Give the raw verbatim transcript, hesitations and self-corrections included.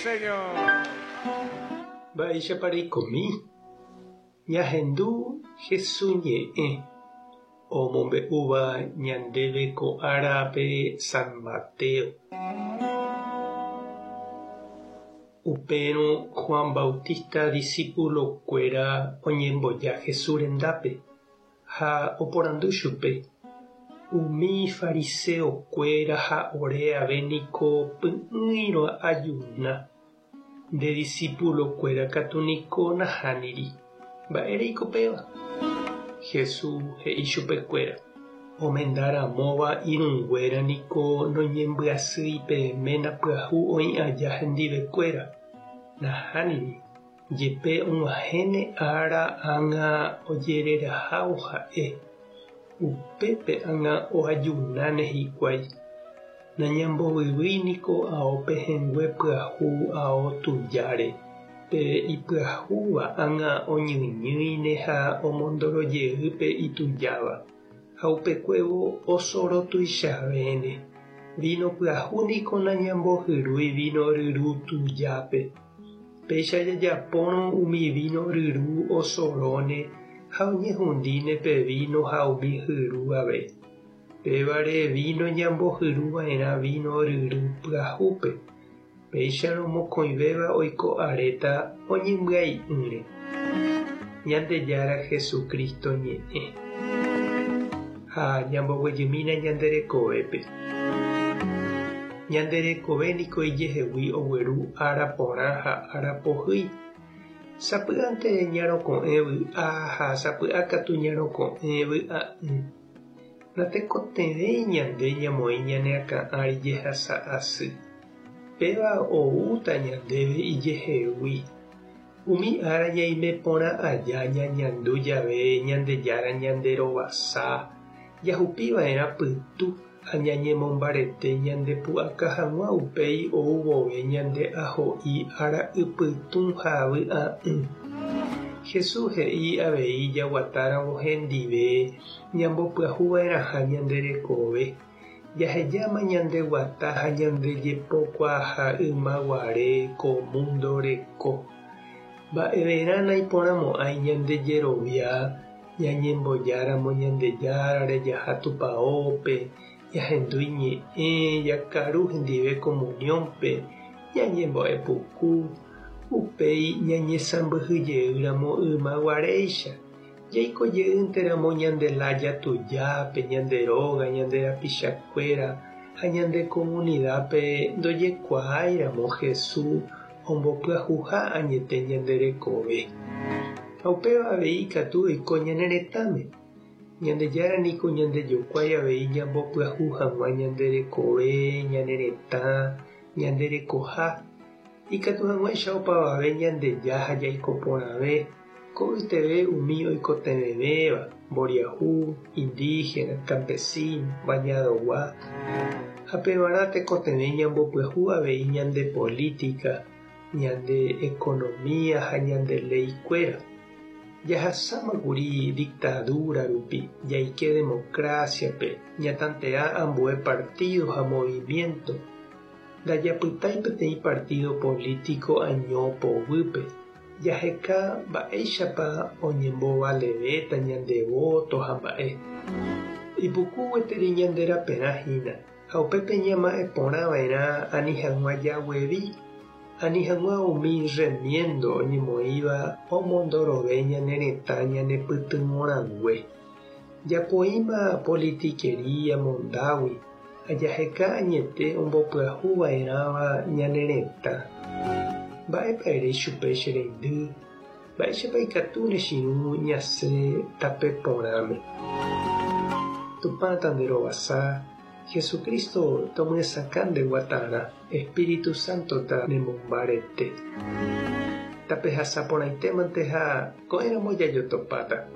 señor. Mba'éichapa reikomi. Ñahendu Jesús ñe'ẽ omombe'úva ñandéve ko árape San Mateo. Upérõ Juan Bautista discípulo-kuéra oñemboja Jesús rendápe ha oporandu chupe. Umi fariseo-kuéra ha ore ave niko py'ỹi roajuna. Nde discípulo-kuéra katu niko nahániri. Mba'éreiko péva. Jesús he'i chupekuéra. Omendaramóva irũnguéra niko noñembyasýi pe ména pyahu oĩ aja hendivekuéra. Nahániri. Jepe og̃uahẽne ára ág̃a ojererahávo ha'e. Upépe ág̃a oajunáne hikuái. Nañambovyvýi niko ao pehẽngue pyahu ao tujáre. Pe ipyahúva ág̃a oñyñýine ha omondorojey pe itujáva. Ha upekuévo osorotuichavéne. Vino pyahu niko nañambohyrúi vino ryru tujápe. Péicha jajapórõ umi vino ryru osoróne ha oñehundíne pe vino ha umi hyru ave. Pévare vino ñambohyruva'erã vino ryru pyahúpe. Péicharõ mokõivéva oiko aréta oñembyai'ỹre. Ñandejára Jesucristo ñe'ẽ. Ha ñamboguejymína ñande rekovépe. Ñande rekove niko ijehegui ogueru ára porã ha ára pohýi. Sapy'ánte ñaroko'ẽ vy'a ha sapy'a katu ñaroko'ẽ vy'a'ỹ. Natekotevẽi ñande ñamoĩ ñane akã ári jehasa asy. Péva oúta ñandéve ijehegui. Umi ára ñaime porã aja ñañandu jave Ñandejára ñanderovasa. Jahupiva'erã pytu ha ñañemombarete ñandepu'aka hag̃ua upéi ou vove ñande aho'i ára ypytũ ha vy'a'ỹ. Jesús he'i avei jaguatáramo hendive ñambopyahuva'erãha ñande rekove. Jahejáma ñandeguata ha ñandejepokuaaha ymaguare ko mundo reko. Mba'everã naiporãmo'ãi ñandejerovia ñañembojáramo Ñandejárare jaha tupãópe, ñahendu iñe'ẽ, jakaru hendive comunión-pe, ñañembo'epuku, upéi ñañesãmbyhyjeýramo ymaguaréicha. Jaikojeýnteramo ñande laya tujápe, ñande róga, ñande rapichakuéra ha ñande comunidad-pe ndojekuaáiramo Jesús ombopyahuha añete ñande rekove. Ha upéva avei ikatu oiko ñane retãme. Ñandejára niko ñandejokuái avei ñambopyahu hag̃ua ñande rekove, ñane retã, ñande rekoha. Ikatu hag̃uáicha opavave Ñandeja ha jaiko porãve. Ko'yteve umi oikotevẽvéva, mboriahu, indígena, campesino, bañadogua. Ha pevarã tekotevẽ ñambopyahu avei ñande política, ñande economía ha ñande leikuéra. Jahasámakuri dictadura rupi, jaike democracia-pe, ñatantea ambue partido ha movimiento. Ndajapytái peteĩ partido político año poguýpe. Jaheka mba'éichapa oñembovalevéta ñande voto ha mba'e. Ipuku gueteri ñande raperã hína ha upépe ñama'ẽporãva'erã ani hag̃ua jaguevi, ani hag̃ua umi remiendo oñemoĩva omondorove ñane retã ñanepytyvõrãngue. Japoíma politiquería mondágui ha jaheka añete ombopyahuva'erãva ñane retã. Mba'épa ere chupe che reindy, mba'éichapa ikatu ne chirũ ñasẽ tape porãme. Tupã tanderovasa, Jesucristo tomyesakã ndeguatarã, Espíritu Santo tanemombarete. Tapehasa porãitémante ha ko'ẽramo jajotopáta.